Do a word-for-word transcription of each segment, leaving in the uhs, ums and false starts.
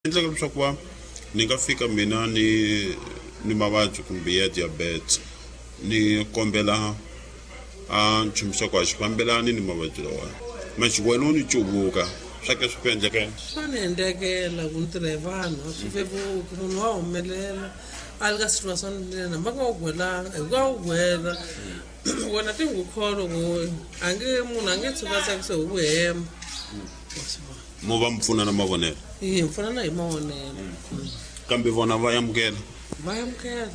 Endleka leswaku va ni nga fika mina ni ni mavabyi kumbe ya diabetes, ni kombela a nchumu xa ku a xi fambelani ni mavabyi lawani, manjhe wena u ni cuvuka swa ke swi ku endlekela? Swa ni endlekela ku ni tirha hi vanhu, a swi vevuki. Munhu wa humelela a li ka situation lena, hambi a nga wu gwelanga hi ku a wu gwela wena ti n'wi kholwa ku a nge munhu a nge tshuki a tsakise hi ku hemba. Mo va mi pfuna na mavonelo? Hi pfunana hi mavonelo. Kambe vona va amukela? Va amukela.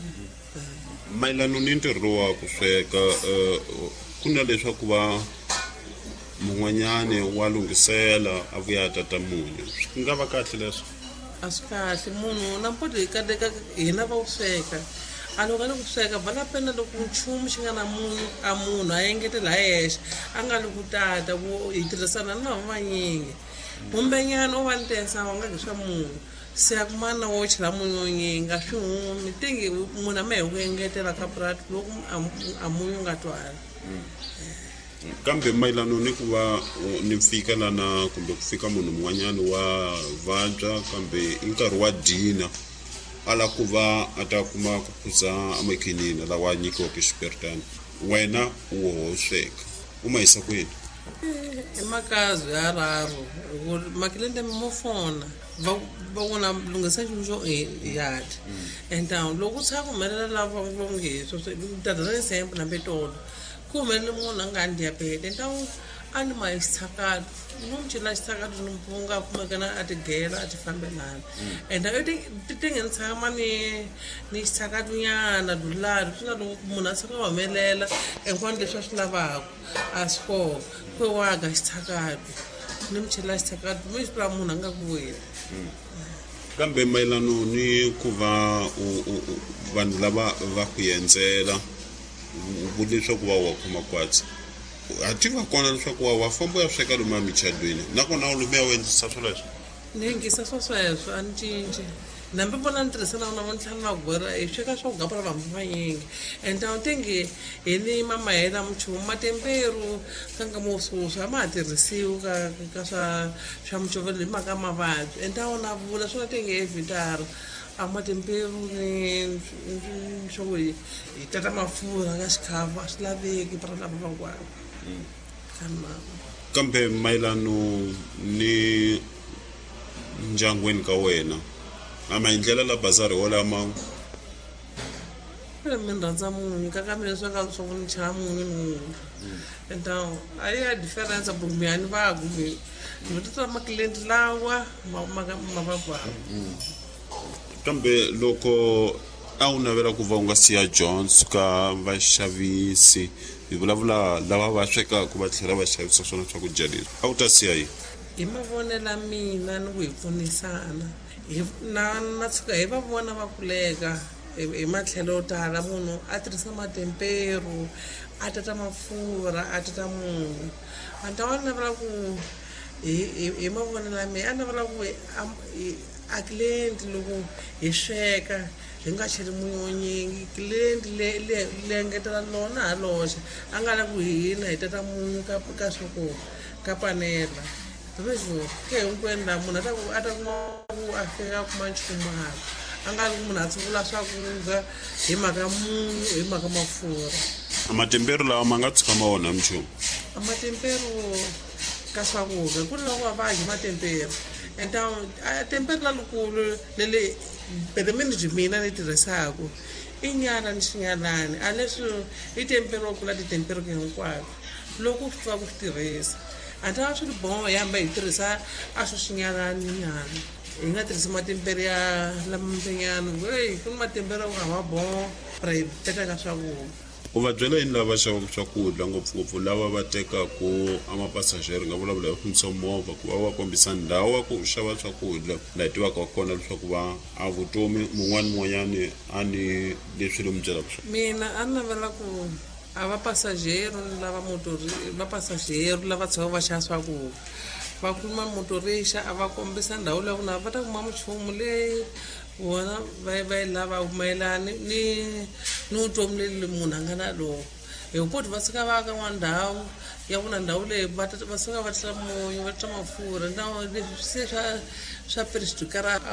Mayelana ni ntirho lowu wa ku sweka, ku na leswaku va mun'wanyani wa lunghisela a vuya a tata munyu, swi nga va kahle leswo? A swi kahle. Munhu nampoti hi kaleka hina va wu sweka, a loko a le ku sweka vala pena loko nchumu xi nga na munyu, a munhu a engetela hi yexe, a nga li ku tata ku hi tirhisana na lava vanyingi. Kumbenyana u va ni tensa wa nga swa munyu, se a kumana wo chela munyu wo nyingi a swi humi tingi munhu a ma hi ku engetela ka purati loko a munyu nga twali. Kambe mayelana ni ku va ni fika lana kumbe ku fika munhu un'wanyana wa vabya, kambe i nkarhi wa dina, a lava ku va a ta kuma ku phuza amakhinini lawa a nyikiwaka xiperitani, wena u woho sweka, u ma yisa kwini? I makazi ya raru makilende mo fona va va vona lunghisa nchumu xo yati and loko ku tshama ku humelela lava va nge tata na example hambi tolo ku humelele munhu a nga ni diabete ntawu a ni ma xitshakato, ni n'wi chela xitshakato ni mpunga a kumekana a tigela a ti fambelana and ti ti nge ni tshama ni ni xitshakato nyana dulari swi na loko munhu a tshuka a humelela hinkwano leswi a swi lavaka a swi kona ku waga xitshakato ni mi chela xitshakato mi swi tiva munhu a nga ku weli. Kambe mayelana ni ku va vanhu lava va ku endzela u vule leswaku va wa khoma kwatsi, ha tiva kona leswaku wa wa famba u ya sweka lomu emichadweni, nakona u lomu ya u endlisa swoleswo? Ni yingisa swa sweswo, a ni cinci. Nambi vona ni tirhisa na vona tlhela na gwera hi sweka swa ku gapela vanhu vanyingi and a tingi hi ni mamahela minchumu matemperu ka nkama wo sweswi a ma ha tirhisiwi ka ka swa swa mucovelo hi mhaka mavabyi and a wona vula swona tingi evhitara a matemperu ni swa ku hi hi tata mafurha ka xikhafu a swi laveki para lava van'wana. Kambe mayelano ni ndyangwini ka wena, a maendlelo la bazari wolama? Mi rhandza munyu ka ka mina swa ka swa ku ni chela munyu ni munyu and a yi ya difference kumbe a ni va kumbe ni tata makilenti lawa ma ma ma va kwala. Kambe loko a wu navela ku va u nga siya Jones ka vaxavisi, hi vulavula lava va swekaka va tlhela va xavisa swona swakudya leswi, a wu ta siya yini? Hi mavonelo ya mina ni ku hi pfunisana hi na na tshuka hi va vona va kuleka hi matlhelo yo tala, munhu a tirhisa matemperu a tata mafurha a tata munyu, a ni ta va navela ku hi hi mavonelo ya mina a navela ku a client loko hi sweka hi nga cheli munyu wo nyingi, client le le le engetela lona ha loxe a nga lavi ku hina hi tata munyu ka ka swa ku ka panela leswo ke hinkwenu laha munhu a ta ku a ta kuma ku a fika a kuma nchumu hala a nga ri munhu a tshungula swakudya hi mhaka munyu hi mhaka mafurha. Matemperu lawa ma nga tshuka ma onha minchumu? A matemperu ka swakudya ku ri loko va dyi matemperu and a temperu lalukulu leli pelemeni mina ni tirhisaka i nyala ni xinyalani a leswi i temperu wa kula titemperu hinkwato loko u swi tiva ku swi tirhisa a ta va swi ri boho hi hamba hi tirhisa a swo xinyalani nyana hi nga tirhisi matemperu ya lamambenyana hey ku ni matemperu ya ku a ma boho ra hi teka ka swakudya. U va byela yini lava xavaka swakudya, ngopfungopfu lava va tekaku a mapasajeri, nga vulavula hi fambisa movha ku va va kombisa ndhawu ya ku xava swakudya laha hi tivaka kona leswaku va a vutomi mun'wani mun'wanyani a ni leswi lomu byelaka swona? Mina a ni navela ku a va pasajero lava motori va pasajero lava tshamaka va xava swakudya va kuma motorixa a va kombisa ndhawu leyi ku na va ta kuma minchumu leyi vona va va yi lavaka mayelana ni ni vutomi leli munhu a nga na lona hi ku va suka va ya ka n'wana ndhawu ya ku na ndhawu leyi va va suka va tisa munyu va tisa mafurha na leswi se swa swa a